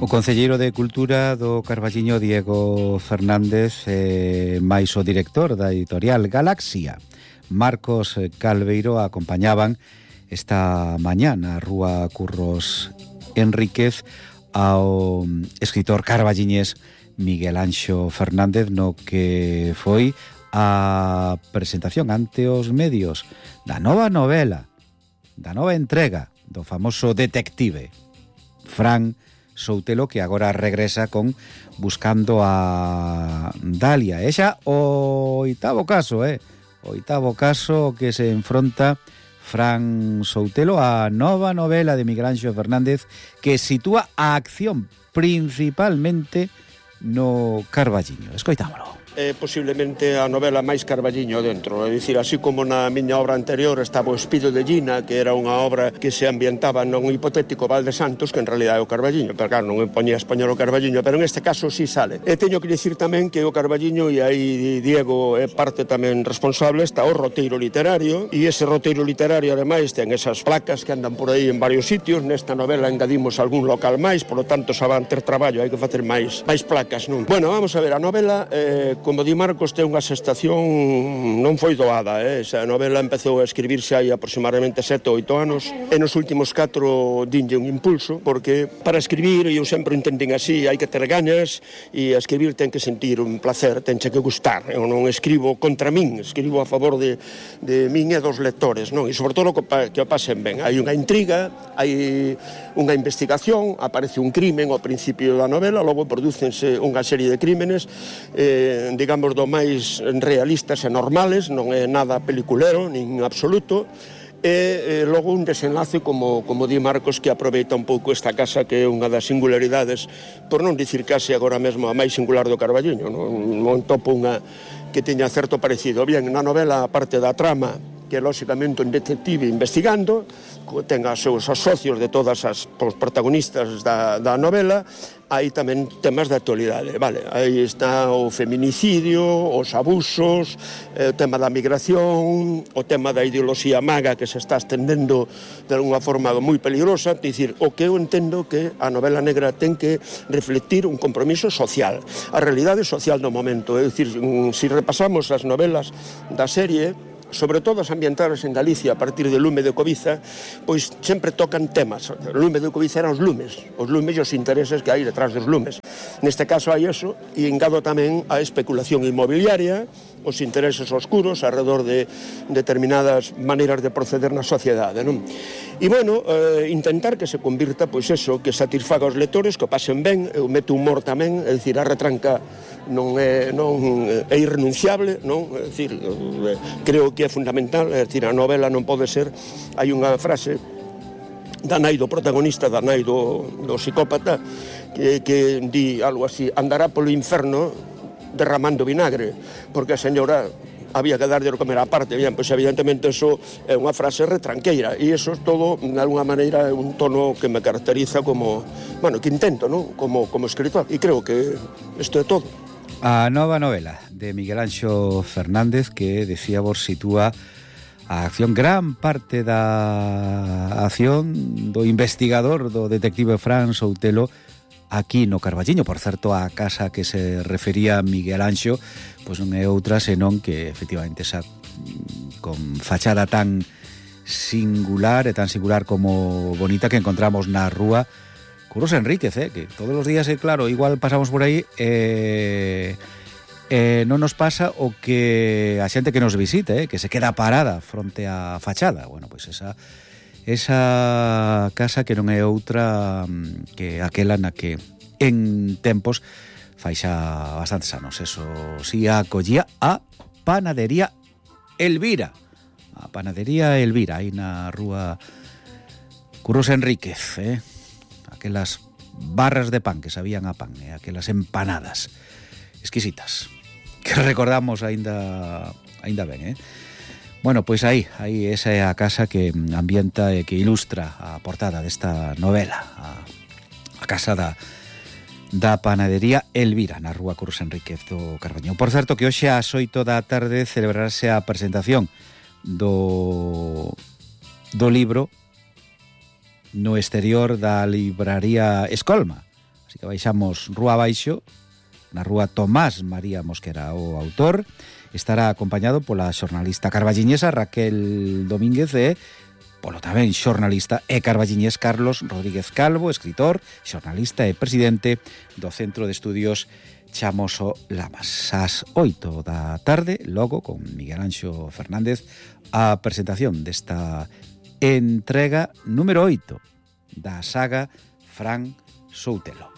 O concelleiro de Cultura do Carballiño, Diego Fernández, máis o director da editorial Galaxia, Marcos Calveiro, acompañaban esta mañá na Rúa Curros Enríquez ao escritor carballiñés Miguel Anxo Fernández, no que foi a presentación ante os medios da nova novela, da nova entrega do famoso detective Fran Soutelo, que agora regresa con Buscando a Dalia. E xa o oitavo caso, o oitavo caso que se enfronta Fran Soutelo a nova novela de Miguel Anxo Fernández, que sitúa a acción principalmente no Carballiño. Escoitámolo. Posiblemente a novela máis Carballiño dentro, é dicir, así como na miña obra anterior estaba O Espido de Gina, que era unha obra que se ambientaba nun hipotético Val de Santos, que en realidad é o Carballiño, pero claro, non me poñía a español o Carballiño, pero en este caso sí sale. E teño que dicir tamén que o Carballiño, e aí Diego é parte tamén responsable, está o roteiro literario, e ese roteiro literario ademais ten esas placas que andan por aí en varios sitios. Nesta novela engadimos algún local máis, polo tanto xa van ter traballo, hai que facer máis placas, non? Bueno, vamos a ver, a novela como di Marcos, ten unha xestación, non foi doada, esa novela empezou a escribirse hai aproximadamente 7 ou 8 anos, e nos últimos 4 dinlle un impulso, porque para escribir, eu sempre entendín así, hai que ter gañas, e a escribir ten que sentir un placer, tenche que gustar. Eu non escribo contra min, escribo a favor de min e dos lectores, non? E sobre todo que o pasen ben. Hai unha intriga, hai unha investigación, aparece un crimen ao principio da novela, logo prodúcense unha serie de crímenes, digamos, do máis realistas e normales, non é nada peliculero, nin absoluto, e logo un desenlace, como di Marcos, que aproveita un pouco esta casa, que é unha das singularidades, por non dicir case agora mesmo a máis singular do Carballiño, non topo unha que teña certo parecido. Bien, na novela, a parte da trama, que é lóxicamente un detective investigando, ten os seus socios de todas as protagonistas da novela, hai tamén temas de actualidade, vale, aí está o feminicidio, os abusos, o tema da migración, o tema da ideoloxía maga que se está estendendo de alguna forma moi peligrosa. É dicir, o que eu entendo que a novela negra ten que reflectir un compromiso social, a realidade social do momento. É dicir, se repasamos as novelas da serie, sobre todo as ambientadas en Galicia a partir de Lume de Cobiza, pois sempre tocan temas. Lume de Cobiza eran os lumes e os intereses que hai detrás dos lumes. Neste caso hai eso, e engado tamén a especulación inmobiliaria, os intereses oscuros alrededor de determinadas maneiras de proceder na sociedade, non? E, bueno, intentar que se convirta, pois eso, que satisfaga os lectores, que o pasen ben. Eu meto humor tamén, é dicir, a retranca non é irrenunciable, non? É dicir, creo que é fundamental, é dicir, a novela non pode ser, hai unha frase da nai do protagonista, da nai do psicópata, que di algo así: andará polo inferno derramando vinagre, porque a señora había que darlle de comer á parte. Bien, pois evidentemente eso é unha frase retranqueira, e eso todo, de alguna maneira, é un tono que me caracteriza como, bueno, que intento, non? Como escritor, e creo que isto é todo. A nova novela de Miguel Anxo Fernández, que decíamos sitúa a acción, gran parte da acción do investigador, do detective Fran Soutelo, aquí no Carballiño. Por certo, a casa que se refería Miguel Anxo, pois non é outra senón que efectivamente esa con fachada tan singular e tan singular como bonita que encontramos na rúa Curros Enríquez, que todos os días, claro, igual pasamos por aí, non nos pasa o que a xente que nos visite, que se queda parada fronte á fachada. Bueno, pois esa casa que non é outra que aquela na que en tempos fai xa bastantes anos, eso si acollía a Panadería Elvira. A Panadería Elvira, aí na rúa Curros Enríquez, aquelas barras de pan que sabían a pan, aquelas empanadas exquisitas que recordamos aínda ben, Bueno, pois aí esa é a casa que ambienta e que ilustra a portada desta novela, a casa da Panadería Elvira, na rúa Curros Enríquez do Carballiño. Por certo, que hoxe ás 8 da tarde celebrarase a presentación do libro no exterior da libraría Escolma. Así que baixamos rúa abaixo, na rúa Tomás María Mosquera. O autor estará acompañado pola xornalista carballiñesa Raquel Domínguez e polo tamén xornalista e carballiñés Carlos Rodríguez Calvo, escritor, xornalista e presidente do Centro de Estudios Chamoso Lamas. Ás 8 da tarde, logo con Miguel Anxo Fernández, a presentación desta entrega número 8 da saga Fran Soutelo.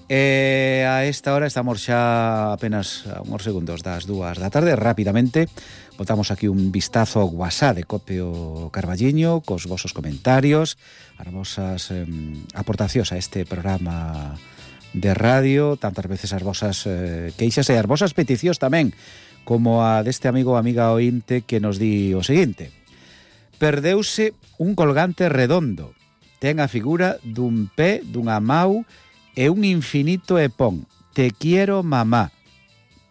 E a esta hora estamos xa apenas a uns segundos das 2 da tarde. Rapidamente botamos aquí un vistazo ao WhatsApp de Copio Carballiño cos vosos comentarios, as vosas aportacións a este programa de radio, tantas veces as vosas queixas e as vosas peticións tamén, como a deste amigo ou amiga ointe que nos di o seguinte: perdeuse un colgante redondo, ten a figura dun pé, dunha mau e un infinito e pon te quiero mamá.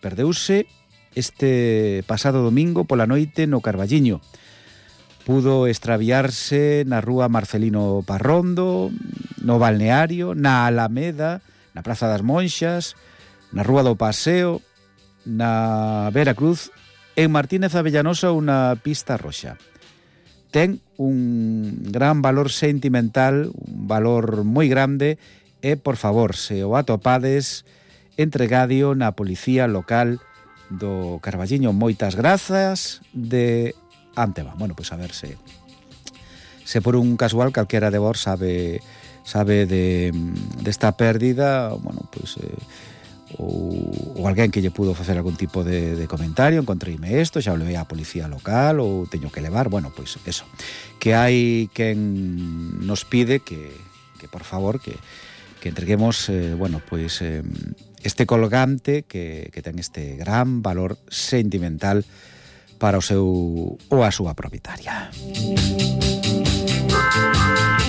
Perdeuse este pasado domingo pola noite no Carballiño. Pudo extraviarse na rúa Marcelino Parrondo, no Balneario, na Alameda, na Praza das Monxas, na Rúa do Paseo, na Vera Cruz, en Martínez Avellanosa ou na Pista Roxa. Ten un gran valor sentimental, un valor moi grande, e, por favor, se o atopades, entregadio na policía local do Carballiño. Moitas grazas de antema. Bueno, pois a ver se por un casual calquera de vos sabe desta pérdida, bueno, pois ou alguén que lle pudo facer algún tipo de comentario, encontreime isto, xa o levei á policía local ou teño que levar, bueno, pois eso, que hai quen nos pide que por favor que entreguemos bueno, pois este colgante que ten este gran valor sentimental para o seu ou a súa propietaria.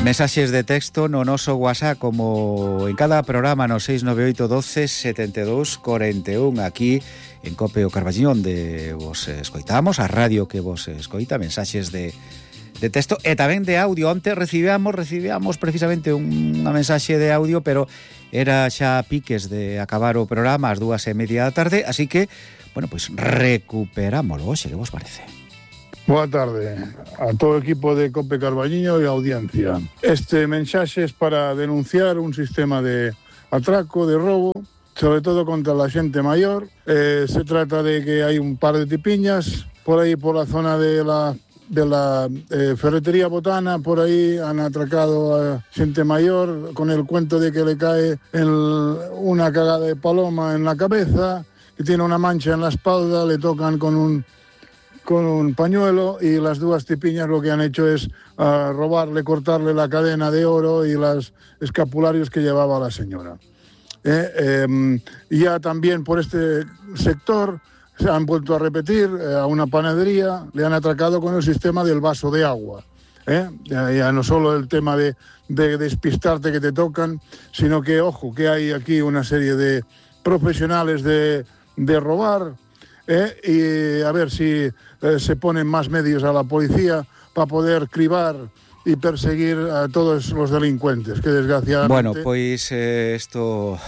Mensaxes de texto no noso WhatsApp, como en cada programa, no 698 12 72 41, aquí en Copio Carballiño, onde vos escoitamos, a radio que vos escoita, mensaxes de texto e tamén de audio. Onte recibíamos precisamente unha mensaxe de audio, pero era xa piques de acabar o programa ás 2:30 da tarde, así que, bueno, pois recuperámoslo hoxe, que vos parece? Boa tarde a todo o equipo de Cope Carballiño e a audiencia. Este mensaxe é para denunciar un sistema de atraco, de robo, sobre todo contra a xente maior. Se trata de que hai un par de tipiñas por aí, por la zona de la ferretería Botana, por aí han atracado a xente mayor con el cuento de que le cae una cagada de paloma en la cabeza, que tiene una mancha en la espalda, le tocan con un pañuelo, y las dos tipiñas lo que han hecho es robarle, cortarle la cadena de oro y los escapularios que llevaba la señora. Ya también por este sector se han vuelto a repetir, a una panadería le han atracado con el sistema del vaso de agua. Ya no solo el tema de despistarte que te tocan, sino que, ojo, que hay aquí una serie de profesionales de robar, y a ver si se ponen más medios a la policía para poder cribar y perseguir a todos los delincuentes, que desgraciadamente... Bueno, pois isto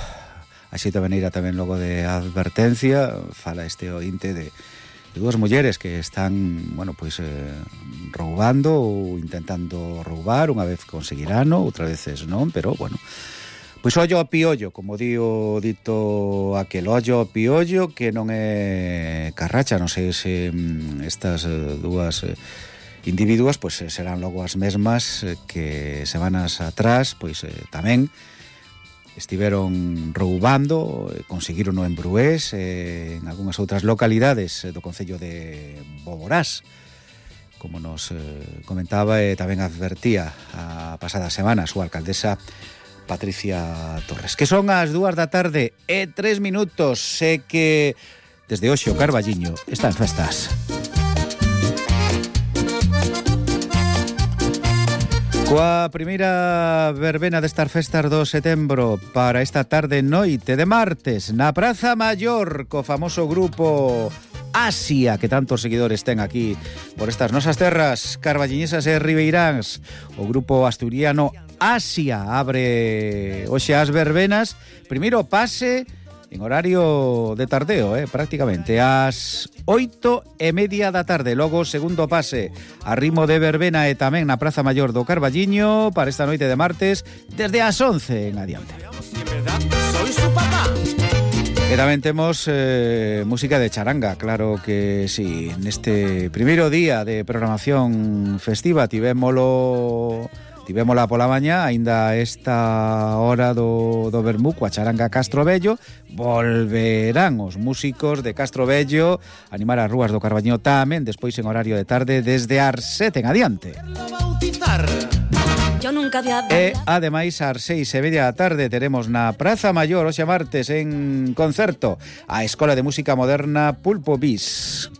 así tamén irá tamén logo de advertencia. Fala este ointe de dúas mulleres que están, bueno, pois roubando ou intentando roubar, unha vez conseguirano, outra veces non, pero bueno, pois ollo ao piollo, como di o dito aquel, ollo ao piollo, que non é carracha. Non sei se estas dúas individuas pois serán logo as mesmas que semanas atrás pois tamén estiveron roubando, conseguiron en Brués, en algunhas outras localidades do concello de Boborás, como nos comentaba e tamén advertía a pasada semana a súa alcaldesa Patricia Torres. Que son as 2 da tarde e 3 minutos. Sé que desde hoxe o Carballiño está en festas. Coa primeira verbena destas festas do setembro para esta tarde noite de martes na Praza Maior, co famoso grupo Asia, que tantos seguidores ten aquí por estas nosas terras carballiñesas e ribeiráns, o grupo asturiano Asia abre hoxe as verbenas. Primeiro pase en horario de tardeo, prácticamente, ás 8:30 da tarde. Logo, segundo pase a ritmo de verbena e tamén na Praza Maior do Carballiño para esta noite de martes, desde as 11 en adiante. E tamén temos música de charanga, claro que sí. Neste primeiro día de programación festiva tivémola pola mañá, aínda esta hora do vermú coa charanga Castrovello. Volverán os músicos de Castrovello a animar as rúas do Carballiño tamén despois en horario de tarde desde as 7 en adiante. E ademais ás 6:30 da tarde teremos na Praza Maior hoxe martes en concerto a Escola de Música Moderna Pulpo Bis.